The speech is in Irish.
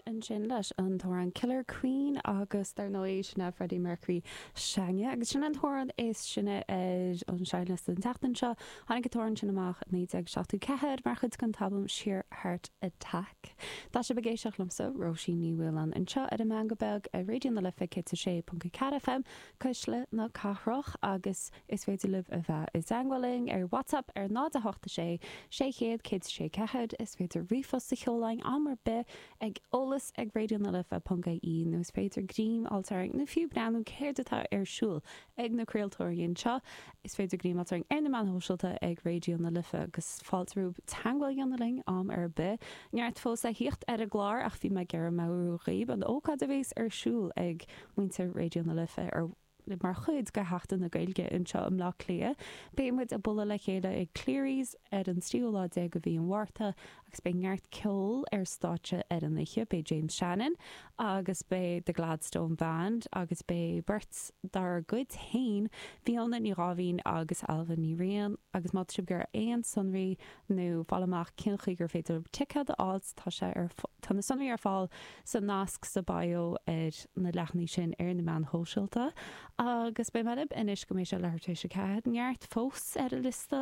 Ansin leis an t-amhrán Killer Queen agus dar ndóigh sin é Freddie Mercury s'againne agus sin an t-amhrán is sine ar an seinnliosta an tseachtain seo. Tháinig an t-amhrán sin amach i 1974 mar chuid den t-albam Sheer Heart Attack. Tá sibh ag éisteacht liomsa, Róisín Ní Mhaoláin, anseo ar an Meangadh Beag ar Raidió na Life 106.4 FM, Cuisle na Cathrach agus is féidir libh a bheith i dteangmháil linn ar WhatsApp ar 0 8 6 600 106 4, is féidir ríomhphost a sheoladh chugainn am ar bith ag eolas ag raidionalife.ie nó is féidir greim a fháilt orainn nó fiú breathnú céard atá ar siúl ag na craoltóirí anseo. Is féidir greim a fháilt orainn ar na meáin shóisialta ag Raidió na Life agus fáilte romhaibh teangmháil a dhéanamh linn am ar bith. Neart fós le thíocht ar an gclár ach bhí mé ag iarraidh meabhrú dhaoib an ócáid a bhéas ar siúl ag muintir Raidió na Life ar mar chuid de Sheachtain na Gaeilge anseo i mBleá Cliath. Beidh muid ag bualadh le chéile ag Cleary's ar an tríú lá déag de mhí an Mhárta agus beidh neart ceoil ar stáitse ar an oíche. Beidh James Shannon agus beidh The Gladstone Band agus beidh beirt dár gcuid féin, Fiona Ní Dháimhín agus Ailbhe Ní Riain agus má tá sibh ag iarraidh aon sonraí nó fáil amach cén chaoi gur féidir libh ticéad a fháilt, tá sé ar, tá na sonraí ar fáil sa nasc sa bio ar na leathanaigh sin ar na meáin shóisialta. Agus beidh mé libh anois go mbeidh sé leathuair tar éis a 4. Neart fós ar an liosta.